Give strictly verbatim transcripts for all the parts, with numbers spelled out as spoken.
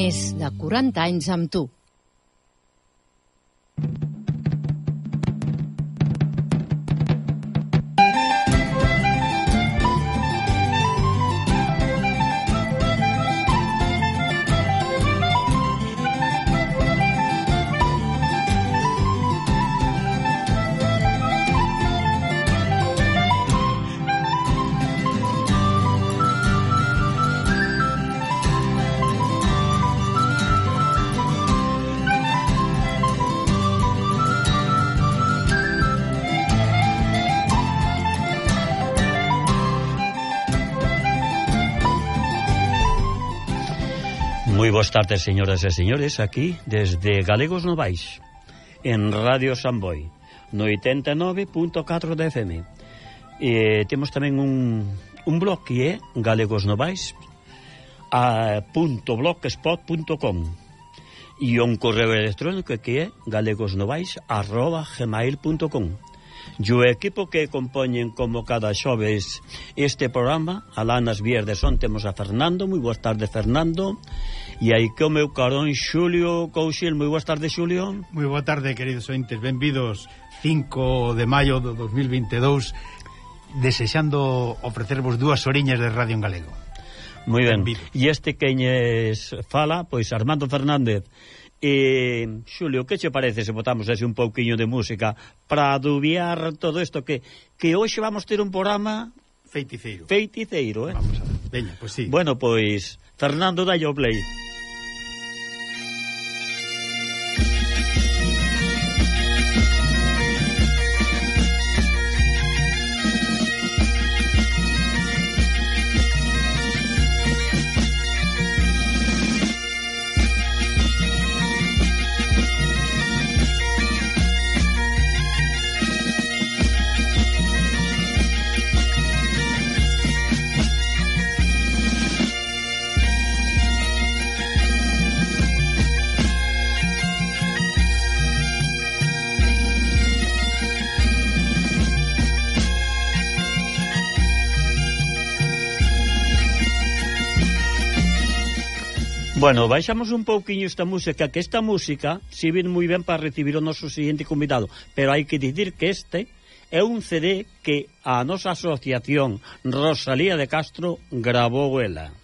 Més de quaranta anys amb tu. Moi boas tardes, señoras e señores, aquí desde Galegos Novais, en Radio Samboy, no oitenta e nove punto catro de F M. E temos tamén un, un blog que é galegosnovais punto blogspot punto com e un correo electrónico que é galegosnovais arroba gmail punto com. E o equipo que compoñen como cada xoves este programa, alá nas vías de son temos a Fernando. Moi boas tardes, Fernando. E aí que o meu carón Xulio Couchil. Moi boas tardes, Xulio. Moi boa tarde, queridos ointes. Benvidos cinco de maio do dos mil vinte e dous, desexando ofrecervos dúas oriñas de radio en galego. Moi ben. E este queñes fala, pois Armando Fernández. E, Xulio, que che parece se botamos así un pouquiño de música para adubiar todo isto que, que hoxe vamos ter un programa feiticeiro. Feiticeiro, eh? Vamos a ver. Veña, pois sí. Bueno, pois, Fernando, dalle o play. Bueno, baixamos un pouquiño esta música, que esta música si ven moi ben para recibir o noso seguinte convidado, pero hai que dicir que este é un C D que a nosa asociación Rosalía de Castro gravou ela.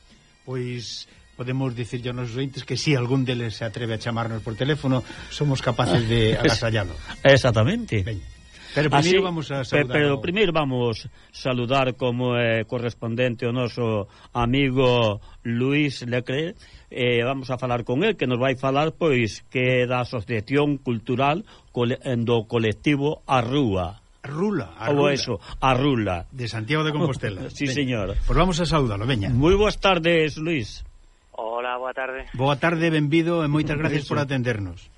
Pois podemos dicir aos nosos ointes que si algún deles se atreve a chamarnos por teléfono, somos capaces de agasallalo. Exactamente. Ben. Pero primeiro Así, vamos a saludar. Pero o... primeiro vamos saludar como é correspondente o noso amigo Luís Leclerc. Eh, vamos a falar con el, que nos vai falar pois que é da Asociación Cultural do colectivo A Rúa. Rula, a Ou Rula. eso, A Rula. De Santiago de Compostela. Sí, veña. Señor. Pois vamos a saudalo, veña. Moi boas tardes, Luís. Hola, boa tarde. Boa tarde, benvido e moitas gracias por atendernos.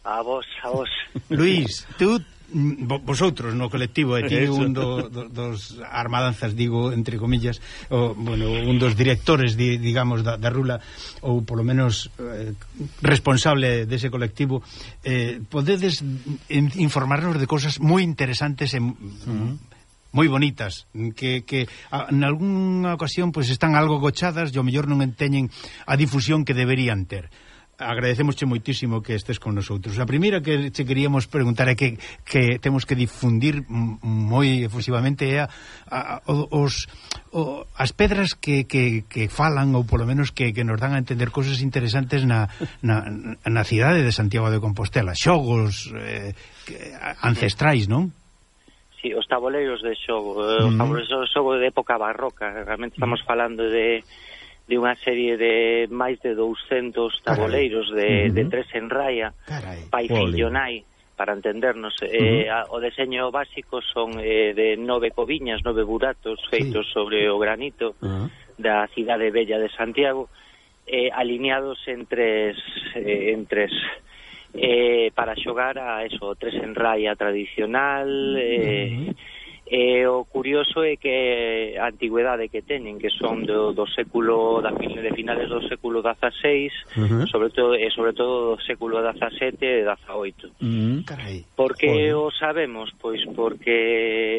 A vos, a vos. Luís, tú vosotros no colectivo, e ti un do, do, dos armadanzas, digo, entre comillas, o, bueno, un dos directores, di, digamos, da, da Rula, ou polo menos eh, responsable dese colectivo, eh, podedes informarnos de cosas moi interesantes e uh-huh. moi bonitas, que, que a, en algunha ocasión pues, están algo gochadas e ao mellor non enteñen a difusión que deberían ter. Agradecemosche moitísimo que estés con nosotros. A primeira que che queríamos preguntar é que, que temos que difundir moi efusivamente é a, a, os, o, as pedras que, que, que falan ou polo menos que, que nos dan a entender cosas interesantes na, na, na cidade de Santiago de Compostela, xogos eh, ancestrais, non? Sí, os taboleiros de xogo, uh-huh. os taboleiros de xogo de época barroca. Realmente estamos uh-huh. falando de de unha serie de máis de douscentos taboleiros de, uh-huh. de tres en raya, pai, fillo, nai, para entendernos. Uh-huh. Eh, a, o deseño básico son eh, de nove coviñas, nove buratos feitos sí. sobre o granito uh-huh. da cidade bella de Santiago, eh, alineados en tres, eh, en tres eh, para xogar a eso, tres en raya tradicional. eh, uh-huh. E o curioso é que a antigüedade que teñen, que son do, do século da de finales do século dezaseis, uh-huh. sobre todo e sobre todo do século dezasete e dezaoito. Uh-huh. Por que o sabemos? Pois porque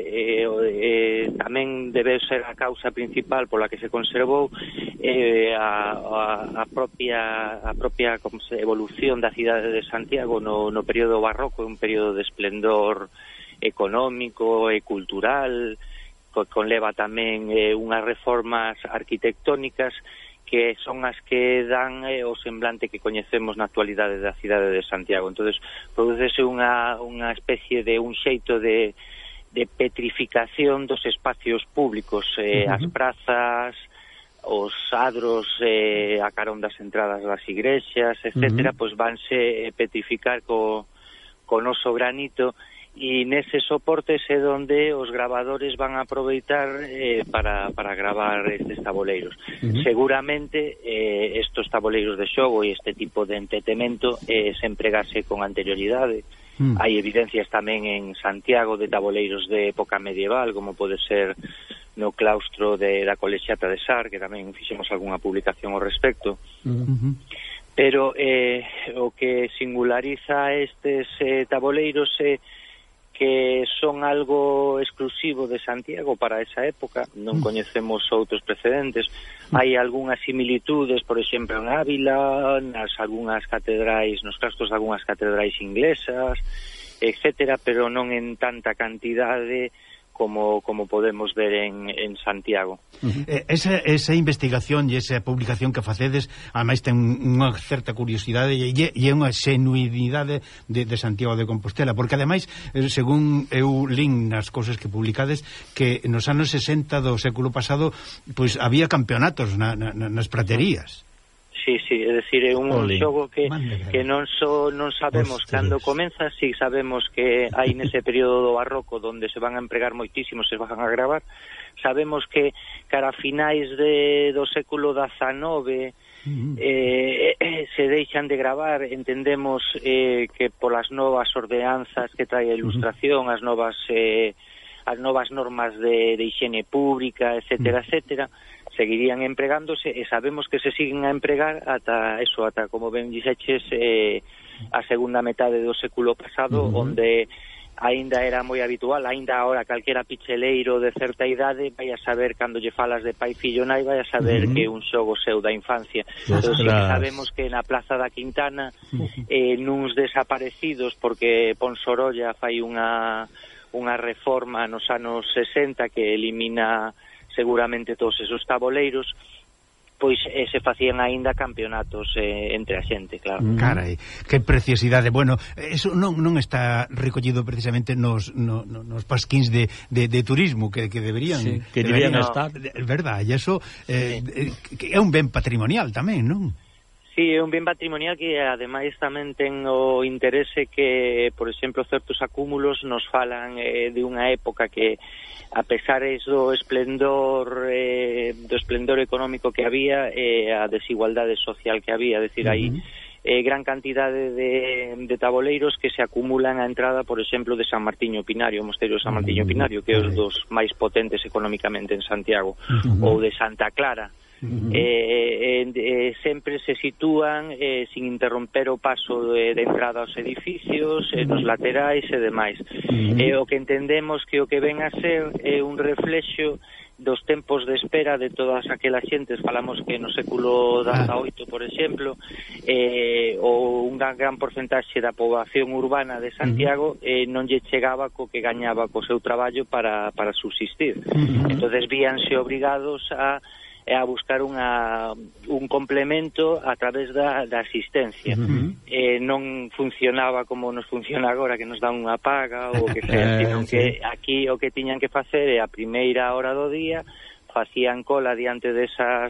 eh, eh, eh, tamén debe ser a causa principal pola que se conservou eh, a, a, a propia a propia como se, evolución da cidade de Santiago no, no período barroco, un período de esplendor económico e cultural, co, conleva tamén eh, unhas reformas arquitectónicas que son as que dan eh, o semblante que coñecemos na actualidade da cidade de Santiago. Entonces, prodúcese unha, unha especie de un xeito de, de petrificación dos espacios públicos, eh, uh-huh. as prazas, os adros eh, a carón das entradas das igrexas, etcétera, uh-huh. pois vanse petrificar co, co noso granito, e neses soportes é onde os gravadores van a aproveitar eh, para, para gravar estes taboleiros. Uh-huh. Seguramente eh, estes taboleiros de xogo e este tipo de entretemento eh, se empregase con anterioridade. Uh-huh. Hai evidencias tamén en Santiago de taboleiros de época medieval, como pode ser no claustro de, da Colexiata de Sar, que tamén fixemos algunha publicación ao respecto. Uh-huh. Pero eh, o que singulariza estes eh, taboleiros é eh, que son algo exclusivo de Santiago para esa época, non coñecemos outros precedentes. Hai algunhas similitudes, por exemplo, en Ávila, nas algunhas catedrais, nos claustros de algunhas catedrais inglesas, etcétera, pero non en tanta cantidade como como podemos ver en, en Santiago. Uh-huh. Esa, esa investigación e esa publicación que facedes, ademais ten unha certa curiosidade e, e unha xenuidade de, de Santiago de Compostela, porque ademais, según eu lin nas cousas que publicades, que nos anos sesenta do século pasado pois había campeonatos na, na, nas praterías. Sí, sí, é dicir, é un Olé. xogo que, que non so, non sabemos Ostras. cando comeza, si sí sabemos que hai nese período do barroco onde se van a empregar moitísimos, se van a gravar. Sabemos que cara a finais de, do século dezanove uh-huh. eh, eh, se deixan de gravar. Entendemos eh, que polas novas ordenanzas que trae a ilustración, uh-huh. as novas eh, as novas normas de, de higiene pública, etcétera, uh-huh. etcétera, seguirían empregándose e sabemos que se siguen a empregar ata eso, ata como ben dixeches eh, a segunda metade do século pasado, uh-huh. onde aínda era moi habitual, aínda agora calquera picheleiro de certa idade vai a saber, cando lle falas de pai, fillo, nai, vai a saber uh-huh. que é un xogo seu da infancia. Entón, sí, sabemos que na Plaza da Quintana eh, nuns desaparecidos, porque Ponsorolla fai unha unha reforma nos anos sesenta que elimina seguramente todos esos taboleiros, pois eh, se facían aínda campeonatos eh, entre a xente, claro. Carai, que preciosidade. Bueno, eso non, non está recollido precisamente nos, no, nos pasquíns de, de, de turismo que, que deberían, sí, que deberían, deberían estar. É verdade, e eso eh, sí. é un ben patrimonial tamén, non? Sí, é un ben patrimonial que ademais tamén ten o interese que, por exemplo, certos acúmulos nos falan eh, de unha época que, a pesar do esplendor eh, do esplendor económico que había, eh, a desigualdade social que había, é dicir, hai uh-huh. eh, gran cantidade de, de taboleiros que se acumulan á entrada, por exemplo, de San Martiño Pinario, o Mosteiro de San Martiño Pinario, que é un dos máis potentes económicamente en Santiago, uh-huh. ou de Santa Clara. Uh-huh. eh, eh, eh, sempre se sitúan eh, sin interromper o paso de, de entrada aos edificios, eh, nos laterais e demais. Uh-huh. eh, o que entendemos que o que ven a ser é eh, un reflexo dos tempos de espera de todas aquelas xentes. Falamos que no século dezaoito, por exemplo, eh, o un gran, gran porcentaxe da poboación urbana de Santiago eh, non lle chegaba co que gañaba co seu traballo para, para subsistir. Uh-huh. Entonces víanse obrigados a a buscar unha, un complemento a través da, da asistencia. Uh-huh. eh, non funcionaba como nos funciona agora, que nos dan unha paga ou que sea, sino que aquí o que tiñan que facer é a primeira hora do día, facían cola diante desas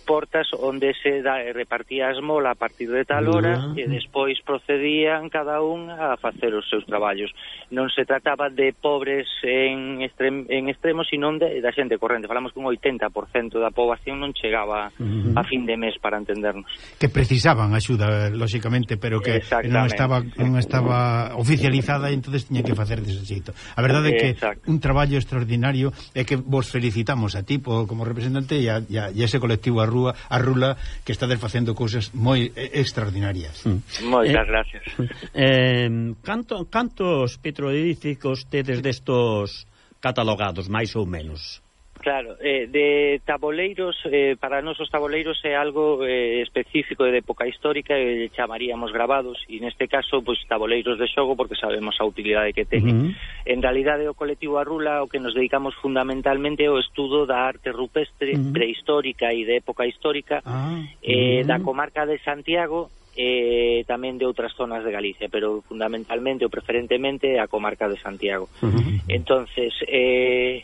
portas onde se da, repartía a esmola a partir de tal hora, uh-huh. e despois procedían cada un a facer os seus traballos. Non se trataba de pobres en, extrem, en extremos, sino de, da xente corrente. Falamos que un oitenta por cento da poboación non chegaba uh-huh. a fin de mes, para entendernos. Que precisaban axuda, lóxicamente, pero que non estaba non estaba oficializada, e entonces tiña que facer dese xeito. A verdade é que Exacto. un traballo extraordinario, é que vos felicitamos a ti como representante e a, e a ese colectivo a Rúa, a Rula, que estades facendo cousas moi extraordinarias. Mm. Moitas eh, gracias. Eh, canto, cantos petroglifos tedes destos catalogados, máis ou menos. Claro, eh, de taboleiros, eh, para nós os taboleiros é algo eh, específico de época histórica e chamaríamos gravados, e neste caso, pois, taboleiros de xogo, porque sabemos a utilidade que teñen. Uh-huh. En realidade, o colectivo Arrula, o que nos dedicamos fundamentalmente é o estudo da arte rupestre, uh-huh, prehistórica e de época histórica, uh-huh, eh, da comarca de Santiago, e eh, tamén de outras zonas de Galicia, pero fundamentalmente ou preferentemente a comarca de Santiago. Uh-huh. Entonces, eh...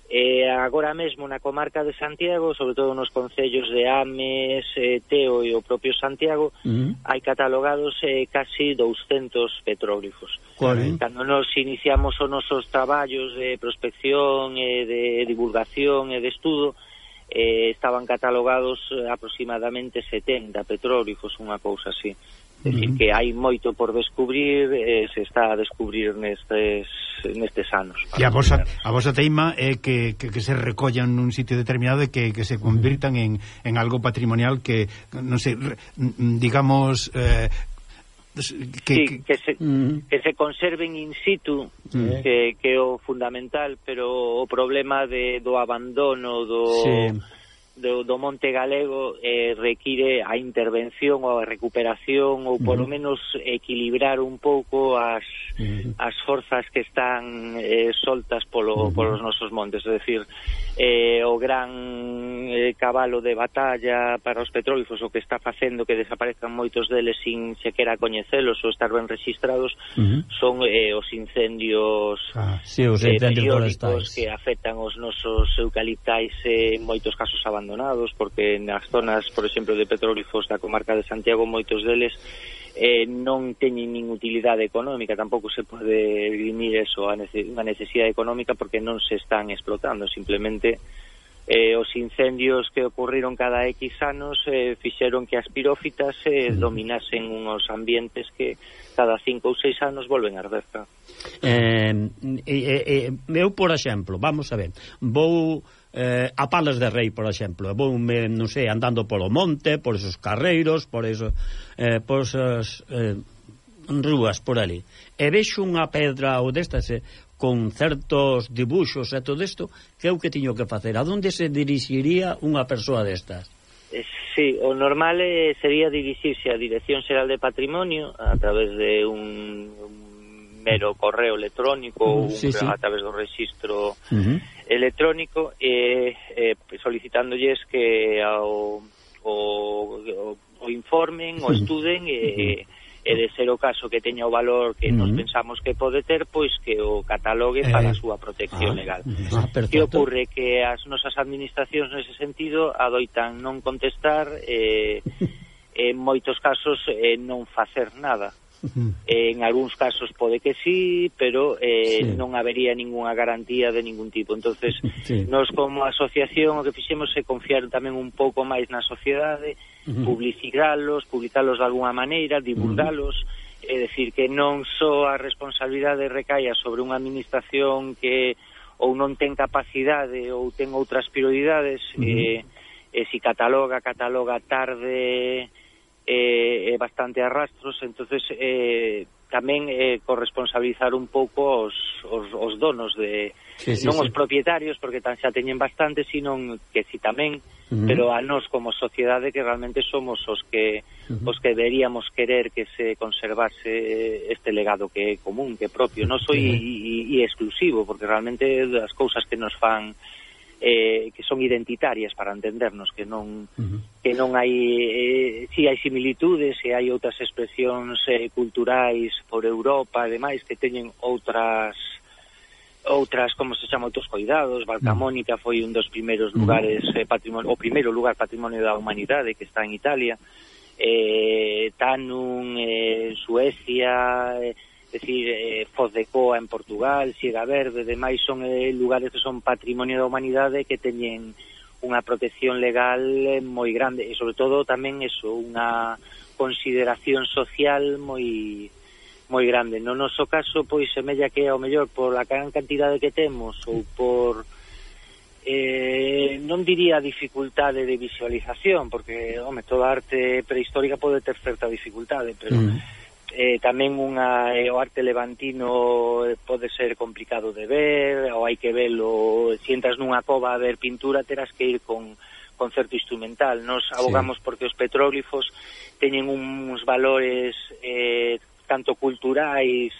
Eh, agora mesmo na comarca de Santiago, sobre todo nos concellos de Ames, eh, Teo e o propio Santiago, uh-huh, hai catalogados eh, casi douscentos petróglifos. Uh-huh. Cando nos iniciamos os nosos traballos de prospección e de divulgación e de estudo, eh, estaban catalogados aproximadamente setenta petróglifos, unha cousa así. É dicir, que hai moito por descubrir, eh, se está a descubrir nestes nestes anos. E a vosa, a vosa teima é que, que, que se recollan nun sitio determinado e que, que se convirtan en, en algo patrimonial que, non sei, digamos... Eh, que, sí, que se, uh-huh, que se conserven in situ, uh-huh, que, que é o fundamental, pero o problema de, do abandono do... Sí. Do, do monte galego eh, require a intervención ou a recuperación ou polo uh-huh, menos equilibrar un pouco as, uh-huh, as forzas que están eh, soltas polo, uh-huh, polos nosos montes, é dicir, eh, o gran eh, cabalo de batalla para os petróglifos, o que está facendo que desaparezcan moitos deles sin sequera coñecelos ou estar ben registrados, uh-huh, son eh, os incendios, ah, sí, os incendios eh, forestais que afectan os nosos eucaliptais eh, en moitos casos abandonados, porque nas zonas, por exemplo, de petróglifos da comarca de Santiago, moitos deles eh, non teñen nin utilidade económica, tampouco se pode grimir eso, a nece- unha necesidade económica, porque non se están explotando, simplemente eh, os incendios que ocurriron cada X anos eh, fixeron que as pirófitas eh, dominasen unos ambientes que cada cinco ou seis anos volven a arder. Eh, eh, eh, eu, por exemplo, vamos a ver, vou eh, a Palas de Rei, por exemplo, vou, me, non sei, andando polo monte, por esos carreiros, por eso, eh, por esas eh, rúas por ali, e vexo unha pedra ou destas eh, con certos dibuxos e todo isto, que é o que tiño que facer? A onde se dirixiría unha persoa destas? Sí, o normal eh, sería dirixirse á Dirección Xeral de Patrimonio a través de un, un mero correo electrónico ou uh, sí, sí. a través do registro uh-huh, electrónico e eh, solicitándoles que ao, o, o, o informen, o estuden e, uh-huh, e de ser o caso que teña o valor que uh-huh, nos pensamos que pode ter, pois que o catalogue eh, para a súa protección ah, legal. Ah, que ocorre que as nosas administracións nese sentido adoitan non contestar e eh, en moitos casos eh, non facer nada. Uh-huh. En algúns casos pode que sí, pero eh, sí. non habería ninguna garantía de ningún tipo. Entonces, sí. Nos como asociación o que fixemos é confiar tamén un pouco máis na sociedade, uh-huh, publicitalos, publicalos de alguna maneira, divulgalos, uh-huh, é dicir que non só a responsabilidade recaia sobre unha administración que ou non ten capacidade ou ten outras prioridades, uh-huh, eh, e se cataloga, cataloga tarde, é eh, bastante arrastros, entonces eh, tamén eh, corresponsabilizar un pouco os, os, os donos de, sí, sí, non sí. os propietarios, porque tan xa teñen bastante, sino que si tamén, uh-huh, pero a nós como sociedade que realmente somos os que uh-huh, os que deberíamos querer que se conservase este legado que é común, que é propio, non soy uh-huh, e, e exclusivo, porque realmente as cousas que nos fan Eh, que son identitarias para entendernos, que non uh-huh, que non hai eh, si hai similitudes e hai outras expresións eh, culturais por Europa e demais que teñen outras outras, como se chama, outros cuidados. Valcamónica foi un dos primeiros lugares eh, patrimonio, o primeiro lugar patrimonio da humanidade que está en Italia, eh, Tanum eh, Suecia, eh, é dicir, eh, Foz de Coa en Portugal, Siega Verde, demais son eh, lugares que son patrimonio da humanidade que teñen unha protección legal eh, moi grande e sobre todo tamén eso, unha consideración social moi moi grande. No noso caso, pois semella que ao mellor por a gran cantidade que temos ou por eh, non diría dificultade de visualización, porque home, toda arte prehistórica pode ter certa dificultade, pero mm. eh, tamén unha eh, o arte levantino pode ser complicado de ver, ou hai que velo, se entras nunha cova a ver pintura terás que ir con concerto instrumental. Nos abogamos sí. porque os petróglifos teñen uns valores eh, tanto culturais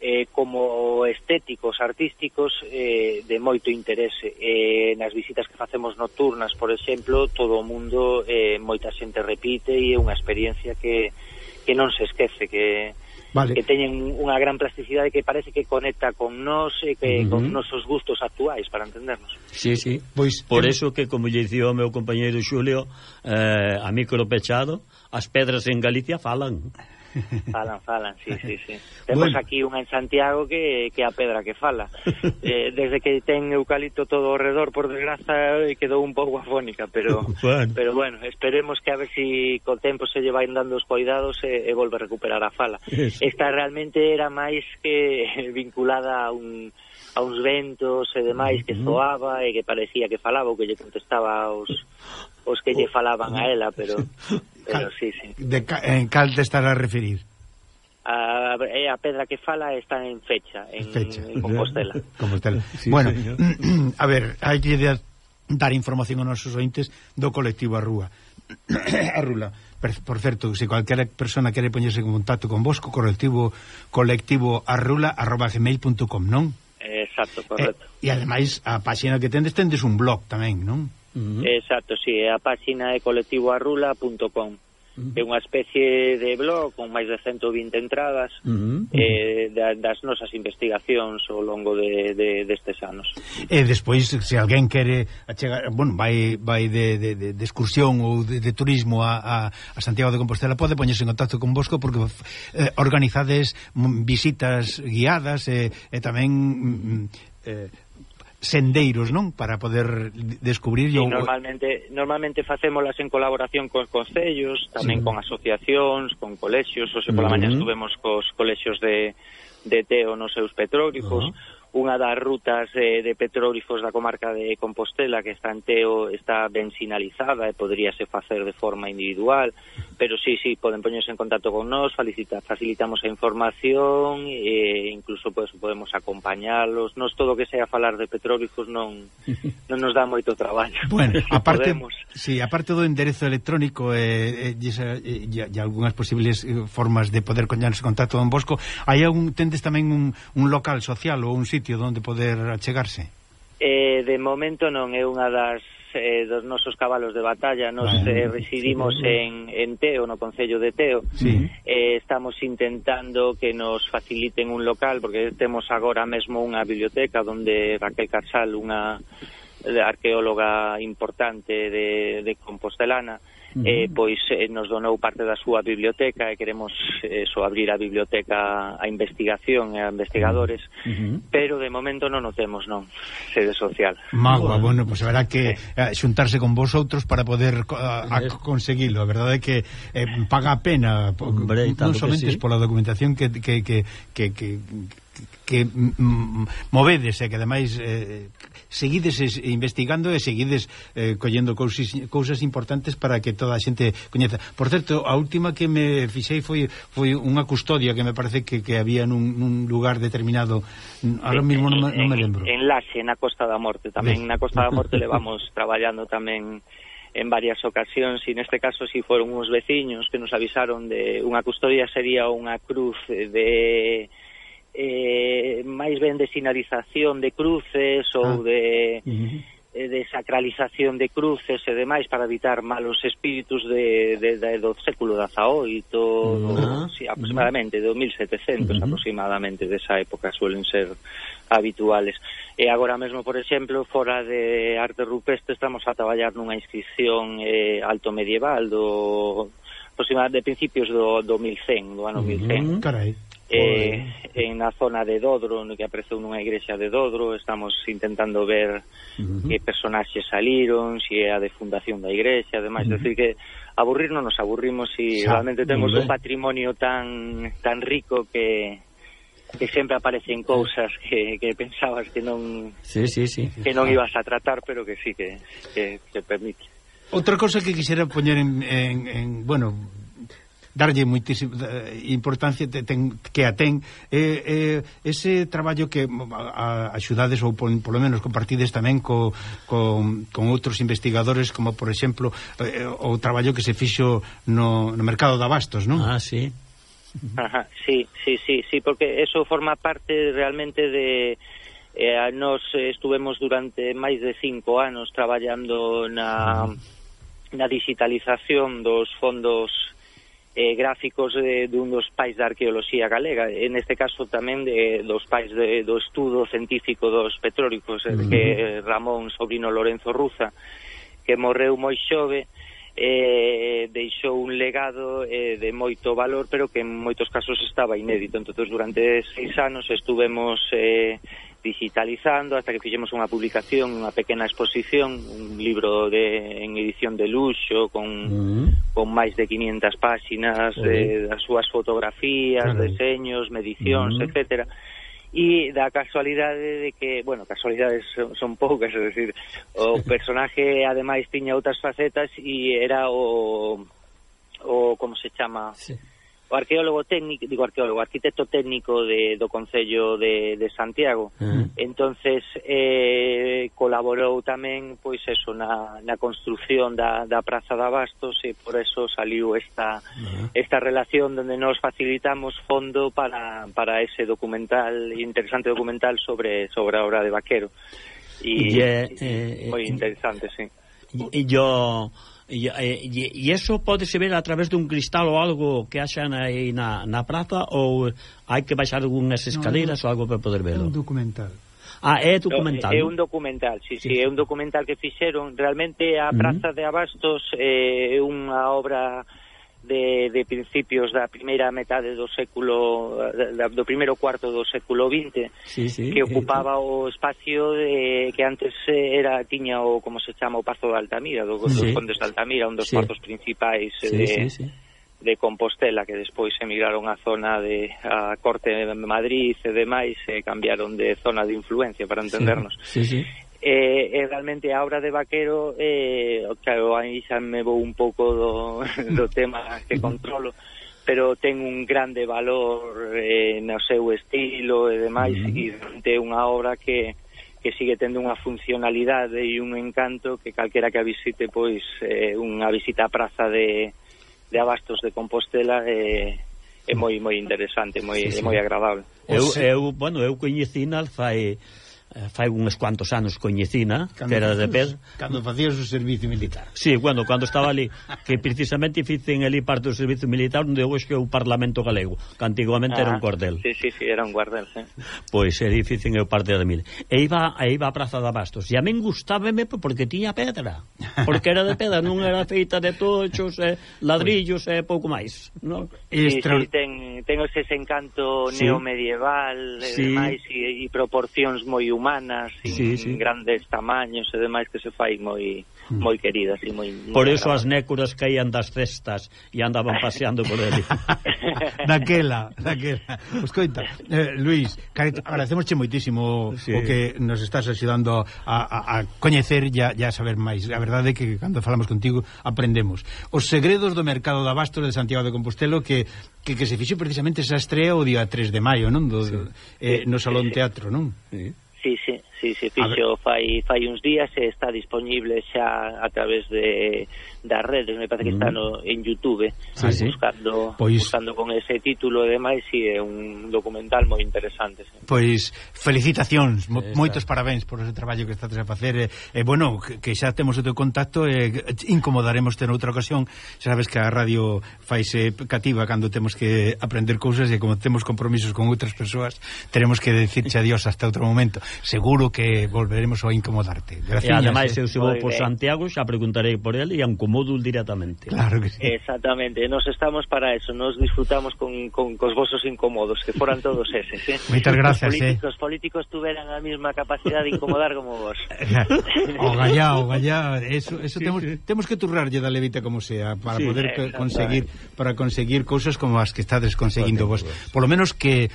eh, como estéticos, artísticos, eh, de moito interese. Eh, nas visitas que facemos nocturnas, por exemplo, todo o mundo, eh, moita xente repite e é unha experiencia que que non se esquece, que vale. que teñen unha gran plasticidade que parece que conecta con nós e que uh -huh. con nosos gustos actuais, para entendernos. Sí, sí, pois por eso que, como lle dicía o meu compañeiro Xulio, eh, a micro pechado, as pedras en Galicia falan. Falan, falan, sí, sí, sí. Temos bueno. aquí unha en Santiago que, que a pedra que fala. Eh, desde que ten eucalipto todo ao redor, por desgraza, quedou un pouco afónica, pero bueno. pero bueno, esperemos que a ver si co tempo se lle vai dando os cuidados e, e volve a recuperar a fala. Eso. Esta realmente era máis que vinculada a un a uns ventos e demais que zoaba e que parecía que falaba ou que lle contestaba aos os que lle falaban a ela, pero pero sí, sí. De ca, en cal te estará a referir? A, a pedra que fala está en Fecha, en, fecha. en Compostela. Compostela. Sí, bueno, señor. A ver, hai que dar información aos nosos ointes do colectivo Arrúa. Arrula. Por certo, se cualquier persona quere poñerse en contacto con vos, co colectivo colectivo arrula arroba gmail punto com, non? Exacto, correcto. E, e ademais a páxina que tendes tendes un blog tamén, non? Uh -huh. Exacto, sí, a páxina é colectivo arrula punto com. Uh -huh. É unha especie de blog con máis de ciento vinte entradas uh -huh. eh, das nosas investigacións ao longo de, de, destes anos. E despois, se alguén quere achegar, bueno, vai, vai de, de, de, de excursión ou de, de turismo a, a, a Santiago de Compostela, pode poñerse en contacto con vosco porque eh, organizades visitas guiadas e, e tamén eh, sendeiros, non? Para poder descubrir... Sí, o... normalmente normalmente facémolas en colaboración cos concellos, tamén sí. con asociacións, con colexios, ou se pola uh -huh. mañá estuvemos cos colexios de, de Teo nos seus petróglifos. Uh -huh. Unha das rutas de, de petróglifos da comarca de Compostela que está en Teo está ben sinalizada e poderíase facer de forma individual, pero sí, sí, poden poñerse en contacto con nós, facilita, facilitamos a información e incluso pues, podemos acompañalos. Nos todo o que sea falar de petróglifos non, non nos dá moito traballo. Bueno, aparte, sí, aparte do enderezo electrónico e, e, e, e, e algunhas posibles formas de poder poñerse en contacto con Bosco, hai un, tendes tamén un, un local social ou un sitio onde poder achegarse? Eh, de momento non é unha das eh, dos nosos cabalos de batalla. Nos eh, residimos en, en Teo, no concello de Teo. Sí. Eh, estamos intentando que nos faciliten un local porque temos agora mesmo unha biblioteca onde Raquel Carsal, unha arqueóloga importante de, de Compostelana, Uh -huh. eh, pois eh, nos donou parte da súa biblioteca e queremos eso, abrir a biblioteca a investigación e a investigadores, uh -huh. pero de momento non o temos, non, sede social. Magua, bueno, pois pues haberá que eh, xuntarse con vosotros para poder a, a conseguilo. A verdade é que eh, paga a pena, Hombre, non somente sí. pola documentación que que que que, que que mm, movedes e que ademais eh, seguides investigando e seguides eh, collendo cousas, cousas importantes para que toda a xente coñeza. Por certo, a última que me fixei foi foi unha custodia que me parece que, que había nun, nun lugar determinado, ahora sí, mismo non, non me lembro. En Laxe, na Costa da Morte, tamén na Costa da Morte levamos traballando tamén en varias ocasións, e neste caso si foron uns veciños que nos avisaron de unha custodia, sería unha cruz de eh, máis ben de sinalización de cruces ou ah. de, uh -huh. de sacralización de cruces e demais para evitar malos espíritus de, de, de, do século dezaoito, uh -huh. sí, aproximadamente, de mil setecentos uh -huh. aproximadamente, desa época suelen ser habituales. E agora mesmo, por exemplo, fora de arte rupestre estamos a traballar nunha inscripción eh, alto medieval do aproximadamente de principios do, do mil cen, do ano uh -huh. mil cen. Carai. Eh, en na zona de Dodro, no que apareceu nunha igrexa de Dodro, estamos intentando ver uh -huh. que personaxes saliron, si é a de fundación da igrexa, ademais, uh -huh. decir que aburrir non nos aburrimos e Xa, realmente temos un patrimonio tan tan rico que que sempre aparecen cousas que, que pensabas que non sí, sí, sí. que non ibas a tratar, pero que sí que, que, que permite. Outra cosa que quixera poñer en, en, en bueno, darlle moitísima importancia ten, que a ten eh, eh, ese traballo que a, axudades ou por, polo menos compartides tamén co, con, con outros investigadores, como por exemplo eh, o traballo que se fixo no, no mercado de abastos, non? Ah, sí. Ajá, sí, sí, sí, sí, porque eso forma parte realmente de... Eh, nos estuvemos durante máis de cinco anos traballando na, na digitalización dos fondos eh, gráficos de, de un dos pais da arqueoloxía galega, en este caso tamén de, dos pais de, do estudo científico dos petrólicos, uh-huh. que Ramón Sobrino Lorenzo Ruza, que morreu moi xove, eh, deixou un legado eh, de moito valor, pero que en moitos casos estaba inédito. Entonces durante seis anos estuvemos eh, digitalizando hasta que fixemos unha publicación, unha pequena exposición, un libro de, en edición de luxo con, uh-huh. con máis de quinientas páxinas, uh-huh. eh, das súas fotografías, uh-huh. deseños, medicións, uh-huh. etcétera. E da casualidade de que, bueno, casualidades son, son poucas, é dicir, o personaje ademais tiña outras facetas e era o, o como se chama... Sí. O arqueólogo técnico, digo arqueólogo, arquitecto técnico de, do Concello de, de Santiago. Uh-huh. Entonces eh, colaborou tamén, pois eso, na, na construción da, da Praza de Abastos, e por eso saliu esta uh-huh. esta relación donde nos facilitamos fondo para, para ese documental, interesante documental sobre, sobre a obra de Vaquero. E yeah, eh, moi interesante, sí. E yo... E, e, e eso podese ver a través dun cristal ou algo que haxan aí na, na praza, ou hai que baixar algunhas escaleras no, no, ou algo para poder verlo? É un documental. Ah, é documental. No, é un documental, sí, sí, sí, é un documental que fixeron. Realmente a Praza uh-huh. de Abastos é unha obra de, de principios da primeira metade do século, da, do primeiro cuarto do século vinte, sí, sí, que ocupaba o espacio de, que antes era tiña o, como se chama, o Pazo de Altamira, do, sí. dos Condes de Altamira, un dos sí. cuartos principais sí, de, sí, sí. de Compostela, que despois emigraron á zona de a Corte de Madrid e demais, e cambiaron de zona de influencia, para entendernos. Sí, sí, sí. Eh, eh, realmente a obra de Vaquero, eh, claro, aí xa me vou un pouco do, do tema que controlo, pero ten un grande valor eh, no seu estilo e demais, e é unha obra que, que sigue tendo unha funcionalidade e un encanto que calquera que a visite, pois eh, unha visita á Praza de, de Abastos de Compostela eh, é moi moi interesante, moi, sí, sí. moi agradable. Eu, eu, bueno, eu coñecina fai... fai uns cuantos anos coñecina, cando que era de Pedro. Cando facías o servicio militar. Sí, bueno, cando estaba ali, que precisamente ficen ali parte do servicio militar onde hoxe é o Parlamento Galego, que antigamente ah, era un cordel. Sí, sí, sí, era un guardel, sí. Pois era ficen eu parte da mil. E iba, e iba a Praza de Abastos, e a min gustábame porque tiña pedra, porque era de pedra, non era feita de tochos, eh, ladrillos e eh, pouco máis, non? Sí, Extra... sí, ten, ten ese encanto sí. neomedieval e sí. demais, e, e proporcións moi humanas, humanas, sí, sí. grandes tamaños e demais, que se fai moi moi queridas e moi, moi por eso agradables. As nécuras caían das cestas e andaban paseando por ele. daquela, daquela. Pues coita, eh, Luís, agradecemosche moitísimo sí. o que nos estás axudando a, a, a coñecer e a, a saber máis. A verdade é que cando falamos contigo aprendemos. Os segredos do mercado de Abastos de Santiago de Compostela, que que, que se fixo precisamente esa estrea o día tres de maio, non? Do, sí. eh, no Salón Teatro, non? Sí. Sí, sí, sí, se fixo fai, fai uns días e está disponible xa a través de das redes, me parece que está no, en YouTube, sí, sí. buscando pois, buscando con ese título e demais, e é un documental moi interesante. Sí. Pois felicitacións, mo, moitos parabéns por ese traballo que estás a facer, e, e bueno, que, que xa temos o teu contacto, e incomodaremos ter outra ocasión. Xa sabes que a radio faise cativa cando temos que aprender cousas, e como temos compromisos con outras persoas, teremos que decirche adiós hasta outro momento. Seguro que volveremos a incomodarte. Gracias. E ademais, eu se vou por Santiago, xa preguntarei por ele e incomodo directamente. Claro que sí. Exactamente, nos estamos para eso, nos disfrutamos con, con cos vosos incómodos, que foran todos eses, eh? Moitas gracias, os políticos, eh. políticos tuveran a mesma capacidade de incomodar como vos. O gallá, o gallá, eso, eso sí, temos, sí. temos que turrarlle da levita como sea, para sí, poder eh, conseguir para conseguir cousas como as que estades conseguindo vos. Por lo menos que,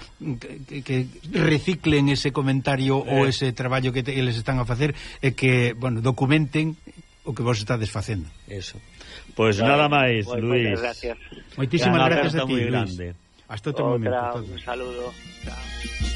que, que reciclen ese comentario eh. ou ese traballo que te, eles están a facer, e que, bueno, documenten o que vos estades facendo. Eso. Pois pues nada máis, pues, Luis. Moitas gracias. Moitísimas gracias a ti, Luis. Grande. Hasta outro momento. Outra, un saludo. Chao.